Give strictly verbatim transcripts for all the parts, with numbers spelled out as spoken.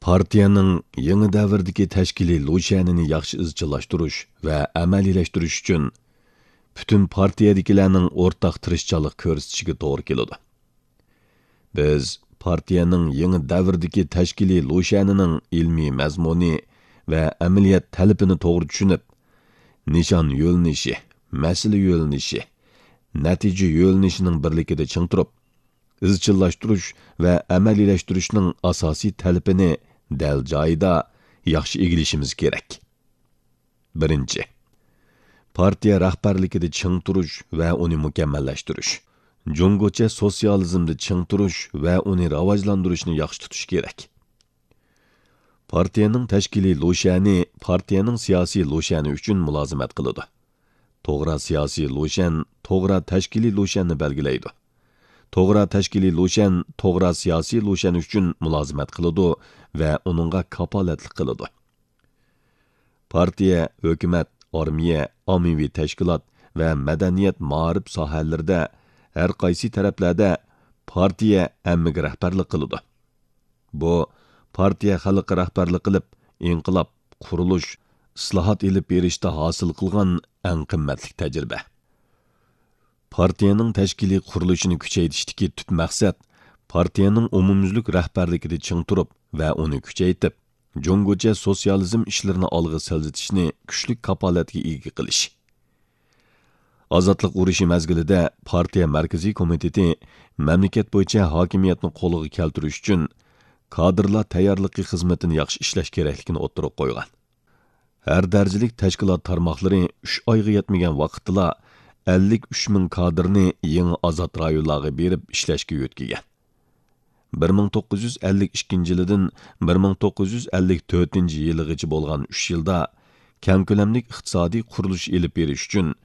پارتىيەنىڭ يېڭى دەۋردىكى تەشكىلىي لۇشيەنىنى ياخشى ئىزچىللاشتۇرۇش ۋە ئەمەلىيلەشتۈرۈش ئۈچۈن، پۈتۈن پارتىيەدىكىلەرنىڭ ئورتاق تىرىشچانلىق كۆرسىتىشىگە توغرا كېلىدۇ. بىز پارتىيەنىڭ يېڭى دەۋردىكى تەشكىلىي لۇشيەنىنىڭ ئىلمىي مەزمۇنى ۋە ئەمەلىيەت تەلىپىنى توغرا چۈشىنىپ، نىشان يۆنىلىشى، مەسىلە يۆنىلىشى، نەتىجە يۆنىلىشىنىڭ بىرلىكىدە چىڭ تۇرۇپ، ئىزچىللاشتۇرۇش ۋە ئەمەلىيلەشتۈرۈشنىڭ ئاساسىي تەلىپىنى دەل جايىدا ياخشى ئىگىلىشىمىز كېرەك. بىرىنچى، پارتىيە رەھبەرلىكىدە چىڭ تۇرۇش ۋە ئۇنى مۇكەممەللەشتۈرۈش، جۇڭگوچە سوتسىيالىزمدا چىڭ تۇرۇش ۋە ئۇنى راۋاجلاندۇرۇشنى ياخشى تۇتۇش كېرەك. پارتىيەنىڭ تەشكىلىي لۇشيەنى پارتىيەنىڭ سىياسىي لۇشيەنى ئۈچۈن مۇلازىمەت قىلىدۇ. توغرا سىياسىي لۇشيەن توغرا تەشكىلىي لۇشيەننى بەلگىلەيدۇ. توغرا تەشكىلىي لۇشيەن توغرا سىياسىي لۇشيەن ئۈچۈن مۇلازىمەت قىلىدۇ ۋە ئۇنىڭغا كاپالەتلىك قىلىدۇ. پارتىيە، ھۆكۈمەت، ئارمىيە، ئاممىۋى تەشكىلات ۋە مەدەنىيەت، مائارىپ ساھەلىرىدە ھەر قايسى تەرەپلەردە پارتىيە ھەممىگە رەھبەرلىك قىلىدۇ. بۇ پارتىيە خەلققە رەھبەرلىك قىلىپ، ئىنقىلاب، قۇرۇلۇش، ئىسلاھات ئېلىپ بېرىشتا ھاسىل قىلغان ئەڭ قىممەتلىك تەجرىبە. پارتىيەنىڭ تەشكىلىي قۇرۇلۇشىنى كۈچەيتىشتىكى تۈپ مەقسەت پارتىيەنىڭ ئومۇميۈزلۈك رەھبەرلىكىدە چىڭ تۇرۇپ ۋە ئۇنى كۈچەيتىپ، جۇڭگوچە سوتسىيالىزم ئىشلىرىنى ئالغا سىلجىتىشنى كۈچلۈك كاپالەتكە ئىگە قىلىش. ئازادلىق ئۇرۇشى مەزگىلىدە پارتىيە مەركىزىي كومىتېتى مەملىكەت بويىچە ھاكىمىيەتنى قولغا كەلتۈرۈش ئۈچۈن كادىرلار تەييارلىقى خىزمىتىنى ياخشى ئىشلەش كېرەكلىكىنى ئوتتۇرىغا قويغان. ھەر دەرىجىلىك تەشكىلات تارماقلىرى ئۈچ ئايغا يەتمىگەن ۋاقىتتىلا ئەللىك ئۈچ مىڭ كادىرنى يېڭى ئازاد رايونلارغا بېرىپ ئىشلەشكە يۆتكىگەن. بىر مىڭ توققۇز يۈز ئەللىك ئىككىنچى يىلىدىن بىر مىڭ توققۇز يۈز ئەللىك تۆتىنچى يىلىغىچە بولغان ئۈچ يىلدا كەڭ كۆلەملىك ئىقتىسادىي قۇرۇلۇش ئېلىپ بېرىش ئۈچۈن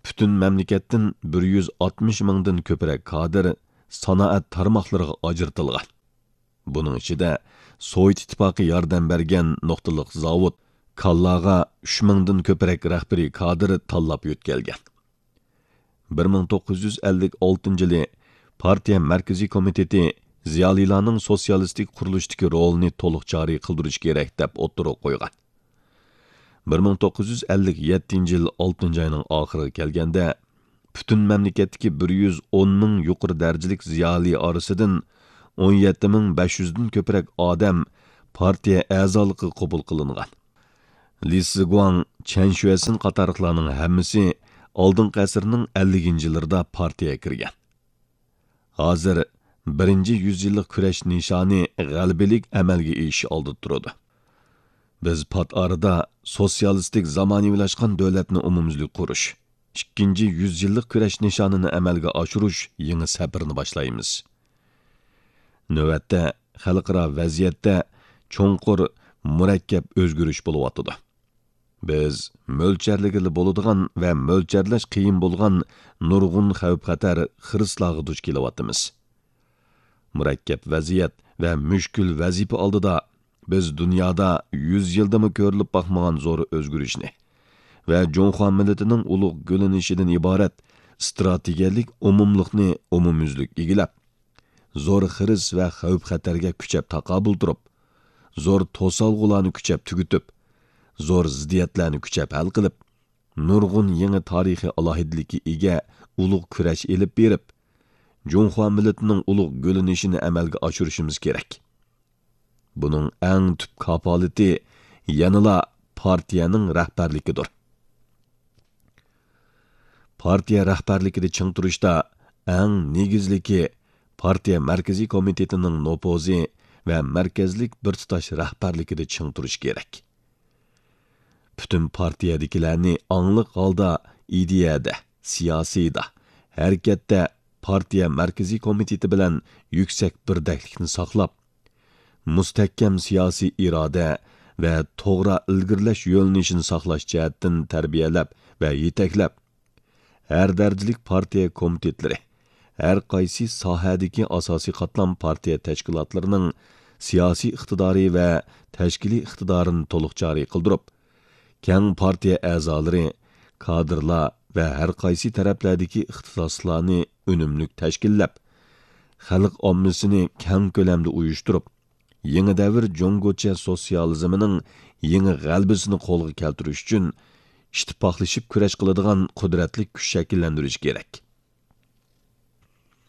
پۈتۈن مەملىكەتتىن بىر يۈز ئاتمىش مىڭدىن كۆپرەك كادىر سانائەت تارماقلىرىغا ئاجرىتىلغان. بۇنىڭ ئىچىدە سوۋېت ئىتتىپاقى ياردەم بەرگەن نۇقتىلىق زاۋۇت، كانلاغا ئۈچ مىڭدىن كۆپرەك رەھبىرىي كادىر تاللاپ يۆتكەلگەن. بىر مىڭ توققۇز يۈز ئەللىك ئالتىنچى يىلى پارتىيە مەركىزىي كومىتېتى زىيالىيلارنىڭ سوتسىيالىستىك قۇرۇلۇشتىكى رولىنى تولۇق جارى قىلدۇرۇش كېرەك، دەپ ئوتتۇرىغا قويغان. بىر مىڭ توققۇز يۈز ئەللىك يەتتىنچى يىل ئالتىنچى ئاينىڭ ئاخىرىغا كەلگەندە، پۈتۈن مەملىكەتتىكى بىر يۈز ئون مىڭ يۇقىرى دەرىجىلىك زىيالىي ئارىسىدىن ئون يەتتە مىڭ بەش يۈزدىن كۆپرەك ئادەم پارتىيە ئەزالىقىغا قوبۇل قىلىنغان. لى سىگۇاڭ، چەن شۈەسىن قاتارلىقلارنىڭ ھەممىسى ئالدىنقى ئەسىرنىڭ ئەللىكىنچى يىللىرىدا پارتىيەگە كىرگەن. ھازىر بىرىنچى يۈز يىللىق كۈرەش نىشانى غەلىبىلىك ئەمەلگە ئېشىش ئالدىدا تۇرىدۇ. بىز پات ئارىدا سوتسىيالىستىك زامانىۋىلاشقان دۆلەتنى ئومۇميۈزلۈك قۇرۇش، ئىككىنچى يۈز يىللىق كۈرەش نىشانىنى ئەمەلگە ئاشۇرۇش يېڭى سەپىرىنى باشلايمىز. نۆۋەتتە خەلقئارا ۋەزىيەتتە چوڭقۇر، مۇرەككەپ ئۆزگىرىش بولۇۋاتىدۇ. بىز مۆلچەرلىگىلى بولىدىغان ۋە مۆلچەرلەش قىيىن بولغان نۇرغۇن خەۋپ-خەتەر، خىرىسلارغا دۇچ كېلىۋاتىمىز. مۇرەككەپ ۋەزىيەت ۋە مۈشكۈل ۋەزىپە ئالدىدا بىز دۇنيادا يۈز يىلدىمۇ كۆرۈلۈپ باقمىغان زور ئۆزگىرىشنى ۋە جۇڭخۇا مىللىتىنىڭ ئۇلۇغ گۈللىنىشىدىن ئىبارەت ئىستراتېگىيەلىك ئومۇملۇقنى ئومۇميۈزلۈك ئىگىلەپ، زور خىرىس ۋە خەۋپ-خەتەرگە كۈچەپ تاقابىل تۇرۇپ، زور توسالغۇلارنى كۈچەپ تۈگىتىپ، زور زىددىيەتلەرنى كۈچەپ ھەل قىلىپ، نۇرغۇن يېڭى تارىخىي ئالاھىدىلىككە ئىگە ئۇلۇغ كۈرەش ئېلىپ بېرىپ، جۇڭخۇا مىللىتىنىڭ ئۇلۇغ گۈللىنىشىنى ئەمەلگە ئاشۇرۇشىمىز كېرەك. بۇنىڭ ئەڭ تۈپ كاپالىتى يەنىلا پارتىيەنىڭ رەھبەرلىكىدۇر. پارتىيە رەھبەرلىكىدە چىڭ تۇرۇشتا ئەڭ نېگىزلىكى پارتىيە مەركىزىي كومىتېتىنىڭ نوپۇزى ۋە مەركەزلىك بىر تۇتاش رەھبەرلىكىدە چىڭ تۇرۇش كېرەك. پۈتۈن پارتىيەدىكىلەرنى ئاڭلىق ھالدا ئىدىيەدە، سىياسىيدا، ھەرىكەتتە پارتىيە مەركىزىي كومىتېتى بىلەن يۈكسەك بىردەكلىكنى ساقلاپ، مۇستەھكەم سىياسىي ئىرادە ۋە توغرا ئىلگىرىلەش يۆنىلىشىنى ساقلاش جەھەتتىن تەربىيەلەپ ۋە يېتەكلەپ، ھەر دەرىجىلىك پارتىيە كومىتېتلىرى، ھەر قايسى ساھەدىكى ئاساسىي قاتلام پارتىيە تەشكىلاتلىرىنىڭ سىياسىي ئىقتىدارى ۋە تەشكىلىي ئىقتىدارىنى تولۇق جارى قىلدۇرۇپ، كەڭ پارتىيە ئەزالىرى، كادىرلار ۋە ھەر قايسى تەرەپلەردىكى ئىختىساسلىقلارنى ئۈنۈملۈك تەشكىللەپ، خەلق ئاممىسىنى كەڭ كۆلەمدە ئۇيۇشتۇرۇپ، يېڭى دەۋر جۇڭگوچە سوتسىيالىزمىنىڭ يېڭى غەلىبىسىنى قولغا كەلتۈرۈش ئۈچۈن ئىتتىپاقلىشىپ كۈرەش قىلىدىغان قۇدرەتلىك كۈچ شەكىللەندۈرۈش كېرەك.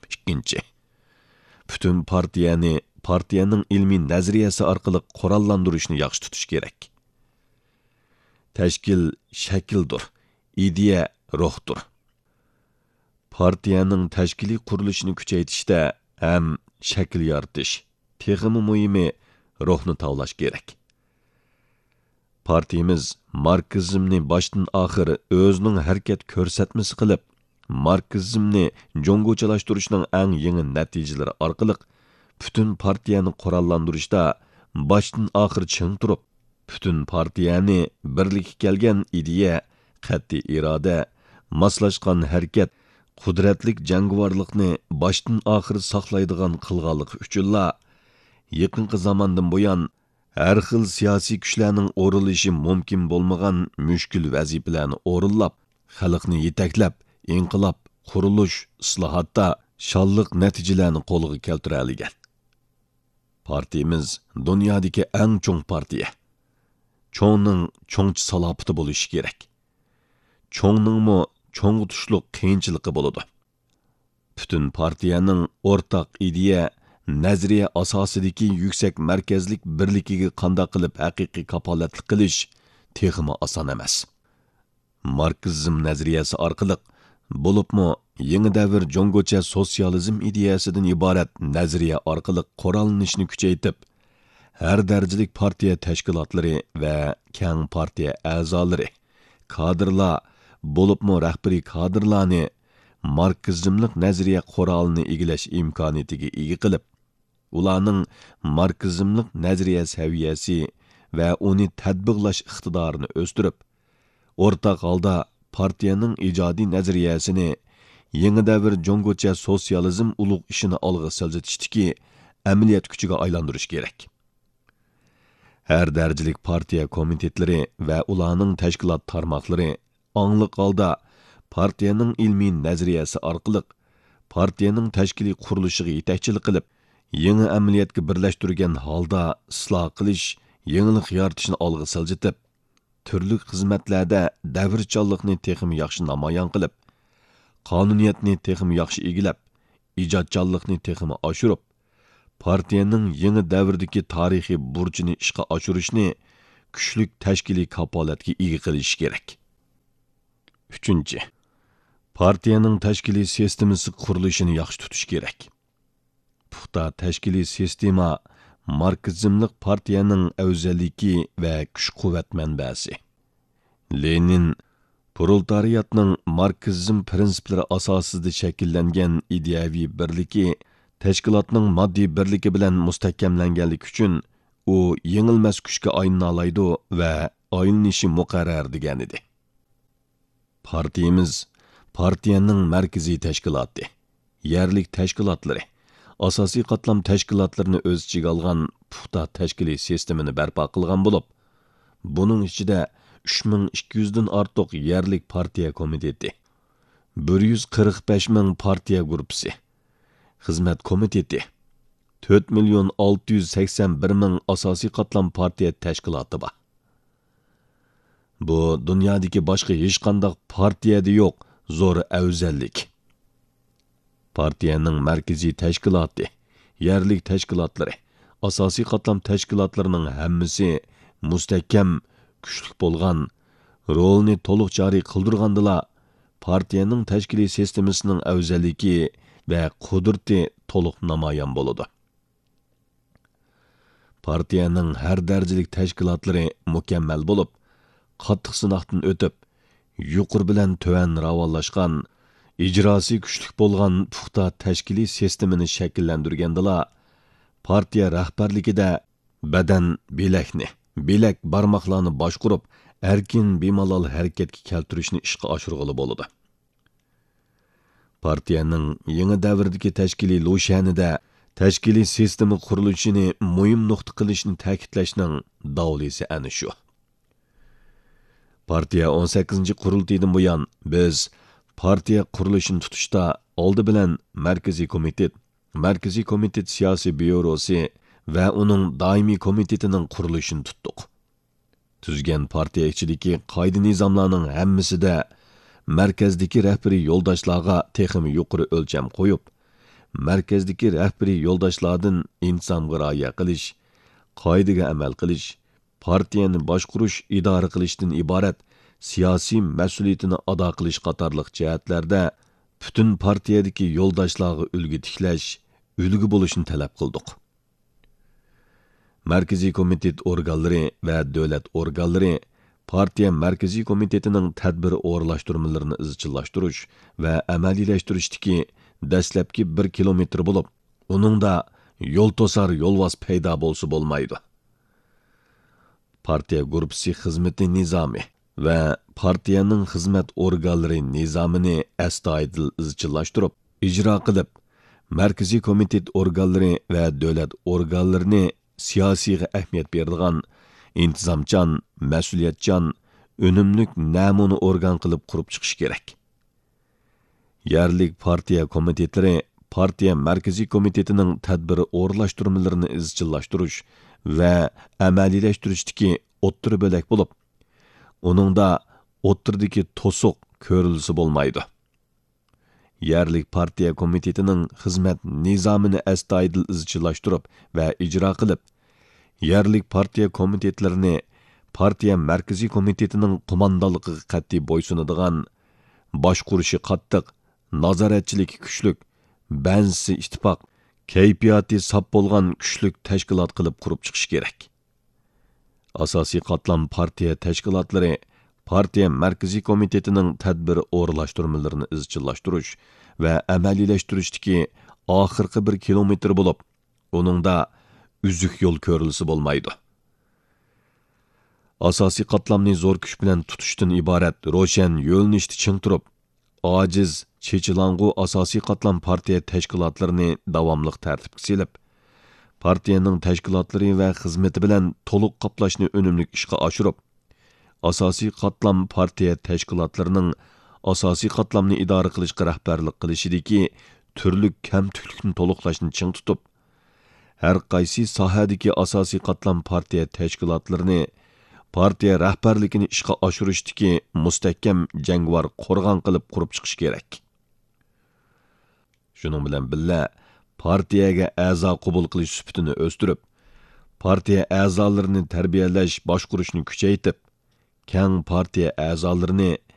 ئىككىنچى، پۈتۈن پارتىيەنى پارتىيەنىڭ ئىلمىي نەزەرىيەسى ئارقىلىق قوراللاندۇرۇشنى ياخشى تۇتۇش كېرەك. تەشكىل شەكىلدۇر، ئىدىيە روھتۇر. پارتىيەنىڭ تەشكىلىي قۇرۇلۇشىنى كۈچەيتىشتە ھەم شەكىل يارىتىش، تېخىمۇ مۇھىمى، روھنى تاۋلاش كېرەك. پارتىيىمىز ماركسىزمنى باشتىن ئاخىر ئۆزىنىڭ ھەرىكەت كۆرسەتمىسى قىلىپ، ماركسىزمنى جۇڭگوچىلاشتۇرۇشنىڭ ئەڭ يېڭى نەتىجىلىرى ئارقىلىق پۈتۈن پارتىيەنى قوراللاندۇرۇشتا باشتىن ئاخىر چىڭ تۇرۇپ، پۈتۈن پارتىيەنى بىرلىككە كەلگەن ئىدىيە، قەتئىي ئىرادە، ماسلاشقان ھەرىكەت، قۇدرەتلىك جەڭگىۋارلىقنى باشتىن ئاخىر ساقلايدىغان قىلغانلىقى ئۈچۈنلا، يېقىنقى زاماندىن بۇيان، ھەر خىل سىياسىي كۈچلەرنىڭ ئورۇنلىشى مۇمكىن بولمىغان مۈشكۈل ۋەزىپىلەرنى ئورۇنلاپ، خەلقنى يېتەكلەپ، ئىنقىلاب، قۇرۇلۇش، ئىسلاھاتتا شانلىق نەتىجىلەرنى قولغا كەلتۈرەلىگەن. پارتىيىمىز دۇنيادىكى ئەڭ چوڭ پارتىيە. چوڭنىڭ چوڭچە سالاپىتى بولۇشى كېرەك. چوڭنىڭمۇ چوڭغا تۇشلۇق قىيىنچىلىقى بولىدۇ. پۈتۈن پارتىيەنىڭ ئورتاق ئىدىيە، نەزەرىيە ئاساسىدىكى يۈكسەك مەركەزلىك بىرلىكىگە قانداق قىلىپ ھەقىقىي كاپالەتلىك قىلىش تېخىمۇ ئاسان ئەمەس. ماركسىزم نەزەرىيەسى ئارقىلىق، بولۇپمۇ يېڭى دەۋر جۇڭگوچە سوتسىيالىزم ئىدىيەسىدىن ئىبارەت نەزەرىيە ئارقىلىق قوراللىنىشنى كۈچەيتىپ، ھەر دەرىجىلىك پارتىيە تەشكىلاتلىرى ۋە كەڭ پارتىيە ئەزالىرى، كادىرلار، بولۇپمۇ رەھبىرىي كادىرلارنى ماركسىزملىق نەزەرىيە قورالىنى ئىگىلەش ئىمكانىيىتىگە ئىگە قىلىپ، ئۇلارنىڭ ماركسىزملىق نەزەرىيە سەۋىيەسى ۋە ئۇنى تەتبىقلاش ئىقتىدارىنى ئۆستۈرۈپ، ئورتاق ھالدا پارتىيەنىڭ ئىجادىي نەزەرىيەسىنى يېڭى دەۋر جۇڭگوچە سوتسىيالىزم ئۇلۇغ ئىشىنى ئالغا سىلجىتىشتىكى ئەمەلىيەت كۈچىگە ئايلاندۇرۇش كېرەك. ھەر دەرىجىلىك پارتىيە كومىتېتلىرى ۋە ئۇلارنىڭ تەشكىلات تارماقلىرى ئاڭلىق ھالدا پارتىيەنىڭ ئىلمىي نەزەرىيەسى ئارقىلىق پارتىيەنىڭ تەشكىلىي قۇرۇلۇشىغا يېتەكچىلىك قىلىپ، يېڭى ئەمەلىيەتكە بىرلەشتۈرگەن ھالدا ئىسلاھ قىلىش، يېڭىلىق يارىتىشنى ئالغا سىلجىتىپ، تۈرلۈك خىزمەتلەردە دەۋرچانلىقنى تېخىمۇ ياخشى نامايان قىلىپ، قانۇنىيەتنى تېخىمۇ ياخشى ئىگىلەپ، ئىجادچانلىقنى تېخىمۇ ئاشۇرۇپ، پارتىيەنىڭ يېڭى دەۋردىكى تارىخىي بۇرچىنى ئىشقا ئاشۇرۇشنى كۈچلۈك تەشكىلىي كاپالەتكە ئىگە قىلىشى كېرەك. ئۈچىنچى، پارتىيەنىڭ تەشكىلىي سىستېمىسى قۇرۇلۇشىنى ياخشى تۇتۇش كېرەك. پۇختا تەشكىلىي سىستېما ماركسىزملىق پارتىيەنىڭ ئەۋزەللىكى ۋە كۈچ-قۇۋۋەت مەنبەسى. لېنىن پرولېتارىياتنىڭ ماركسىزم پىرىنسىپلىرى ئاساسىدا شەكىللەنگەن ئىدىيەۋى بىرلىكى تەشكىلاتنىڭ ماددىي بىرلىكى بىلەن مۇستەھكەملەنگەنلىكى ئۈچۈن، ئۇ يېڭىلمەس كۈچكە ئايلىنالايدۇ ۋە ئايلىنىشى مۇقەررەر دېگەنىدى. پارتىيىمىز پارتىيەنىڭ مەركىزىي تەشكىلاتى، يەرلىك تەشكىلاتلىرى، ئاساسىي قاتلام تەشكىلاتلىرىنى ئۆز ئىچىگە ئالغان پۇختا تەشكىلىي سىستېمىنى بەرپا قىلغان بولۇپ، بۇنىڭ ئىچىدە ئۈچ مىڭ ئىككى يۈزدىن ئارتۇق يەرلىك پارتىيە كومىتېتى، بىر يۈز قىرىق بەش مىڭ پارتىيە گۇرۇپپىسى، خىزمەت كومىتېتى، تۆت مىليون ئالتە يۈز سەكسەن بىر مىڭ ئاساسىي قاتلام پارتىيە تەشكىلاتى بار. بۇ دۇنيادىكى باشقا ھېچقانداق پارتىيەدە يوق زور ئەۋزەللىك. پارتىيەنىڭ مەركىزىي تەشكىلاتى، يەرلىك تەشكىلاتلىرى، ئاساسىي قاتلام تەشكىلاتلىرىنىڭ ھەممىسى مۇستەھكەم، كۈچلۈك بولغان، رولىنى تولۇق جارى قىلدۇرغاندىلا، پارتىيەنىڭ تەشكىلىي سىستېمىسىنىڭ ئەۋزەللىكى ۋە قۇدرىتى تولۇق نامايان بولىدۇ. پارتىيەنىڭ ھەر دەرىجىلىك تەشكىلاتلىرى مۇكەممەل بولۇپ، قاتتىق سىناقتىن ئۆتۈپ، يۇقىرى بىلەن تۆۋەن راۋانلاشقان، ئىجراسى كۈچلۈك بولغان پۇختا تەشكىلىي سىستېمىنى شەكىللەندۈرگەندىلا، پارتىيە رەھبەرلىكىدە بەدەن، بىلەكنى، بىلەك، بارماقلارنى باشقۇرۇپ، ئەركىن، بىمالال ھەرىكەتكە كەلتۈرۈشنى ئىشقا ئاشۇرغىلى بولىدۇ. پارتىيەنىڭ يېڭى دەۋردىكى تەشكىلىي لۇشيەنىدە تەشكىلىي سىستېما قۇرۇلۇشىنى مۇھىم نۇقتا قىلىشنى تەكىتلەشنىڭ داۋلىسى ئەنە شۇ. پارتىيە ئون سەككىزىنچى قۇرۇلتىيىدىن بۇيان، بىز پارتىيە قۇرۇلۇشىنى تۇتۇشتا ئالدى بىلەن مەركىزىي كومىتېت، مەركىزىي كومىتېت سىياسىي بيۇروسى ۋە ئۇنىڭ دائىمىي كومىتېتىنىڭ قۇرۇلۇشىنى تۇتتۇق. تۈزگەن پارتىيە ئىچىدىكى قائىدە-نىزاملارنىڭ ھەممىسىدە مەركەزدىكى رەھبىرىي يولداشلارغا تېخىمۇ يۇقىرى ئۆلچەم قويۇپ، مەركەزدىكى رەھبىرىي يولداشلاردىن ئىنتىزامغا رىئايە قىلىش، قائىدىگە ئەمەل قىلىش، پارتىيەنى باشقۇرۇش، ئىدارە قىلىشتىن ئىبارەت سىياسىي مەسئۇلىيىتىنى ئادا قىلىش قاتارلىق جەھەتلەردە پۈتۈن پارتىيەدىكى يولداشلارغا ئۈلگە تىكلەش، ئۈلگە بولۇشنى تەلەپ قىلدۇق. مەركىزىي كومىتېت ئورگانلىرى ۋە دۆلەت ئورگانلىرى پارتىيە مەركىزىي كومىتېتىنىڭ تەدبىر ئورۇنلاشتۇرمىلىرىنى ئىزچىللاشتۇرۇش ۋە ئەمەلىيلەشتۈرۈشتىكى دەسلەپكى بىر كىلومېتىر بولۇپ، ئۇنىڭدا يول توسار يولۋاس پەيدا بولسا بولمايدۇ. پارتىيە گۇرۇپپىسى خىزمىتى نىزامى ۋە پارتىيەنىڭ خىزمەت ئورگانلىرى نىزامىنى ئەستايىدىل ئىزچىللاشتۇرۇپ ئىجرا قىلىپ، مەركىزىي كومىتېت ئورگانلىرى ۋە دۆلەت ئورگانلىرىنى سىياسىيغا ئەھمىيەت بېرىدىغان، ئىنتىزامچان، مەسئۇلىيەتچان، ئۈنۈملۈك نەمۇنە ئورگان قىلىپ قۇرۇپ چىقىش كېرەك. يەرلىك پارتىيە كومىتېتلىرى پارتىيە مەركىزىي كومىتېتىنىڭ تەدبىر ئورۇنلاشتۇرمىلىرىنى ئىزچىللاشتۇرۇش ۋە ئەمەلىيلەشتۈرۈشتىكى ئوتتۇرا بۆلەك بولۇپ، ئۇنىڭدا ئوتتۇرىدىكى توسۇق كۆرۈلسە بولمايدۇ. يەرلىك پارتىيە كومىتېتىنىڭ خىزمەت نىزامىنى ئەستايىدىل ئىزچىللاشتۇرۇپ ۋە ئىجرا قىلىپ، يەرلىك پارتىيە كومىتېتلىرىنى پارتىيە مەركىزىي كومىتېتىنىڭ قوماندانلىقىغا قەتئىي بويسۇنىدىغان، باشقۇرۇشى قاتتىق، نازارەتچىلىكى كۈچلۈك، بەنزىسى ئىتتىپاق، كەيپىياتى ساپ بولغان كۈچلۈك تەشكىلات قىلىپ قۇرۇپ چىقىش كېرەك. ئاساسىي قاتلام پارتىيە تەشكىلاتلىرى پارتىيە مەركىزىي كومىتېتىنىڭ تەدبىر ئورۇنلاشتۇرمىلىرىنى ئىزچىللاشتۇرۇش ۋە ئەمەلىيلەشتۈرۈشتىكى ئاخىرقى بىر كىلومېتىر بولۇپ، ئۇنىڭدا ئۈزۈك يول كۆرۈلسە بولمايدۇ. ئاساسىي قاتلامنى زور كۈچ بىلەن تۇتۇشتىن ئىبارەت روشەن يۆنىلىشتە چىڭ تۇرۇپ، ئاجىز، چېچىلاڭغۇ ئاساسىي قاتلام پارتىيە تەشكىلاتلىرىنى داۋاملىق تەرتىپكە سېلىپ، پارتىيەنىڭ تەشكىلاتلىرى ۋە خىزمىتى بىلەن تولۇق قاپلاشنى ئۈنۈملۈك ئىشقا ئاشۇرۇپ، ئاساسىي قاتلام پارتىيە تەشكىلاتلىرىنىڭ ئاساسىي قاتلامنى ئىدارە قىلىشقا رەھبەرلىك قىلىشىدىكى تۈرلۈك كەمتۈكلۈكنى تولۇقلاشنى چىڭ تۇتۇپ، ھەر قايسى ساھەدىكى ئاساسىي قاتلام پارتىيە تەشكىلاتلىرىنى، پارتىيە رەھبەرلىكىنى ئىشقا ئاشۇرۇشتىكى مۇستەھكەم جەڭگىۋار قورغان قىلىپ قۇرۇپ چىقىش كېرەك. شۇنىڭ بىلەن بىللە، پارتىيەگە ئەزا قوبۇل قىلىش سۈپىتىنى ئۆستۈرۈپ، پارتىيە ئەزالىرىنى تەربىيەلەش، باشقۇرۇشنى كۈچەيتىپ، كەڭ پارتىيە ئەزالىرىنى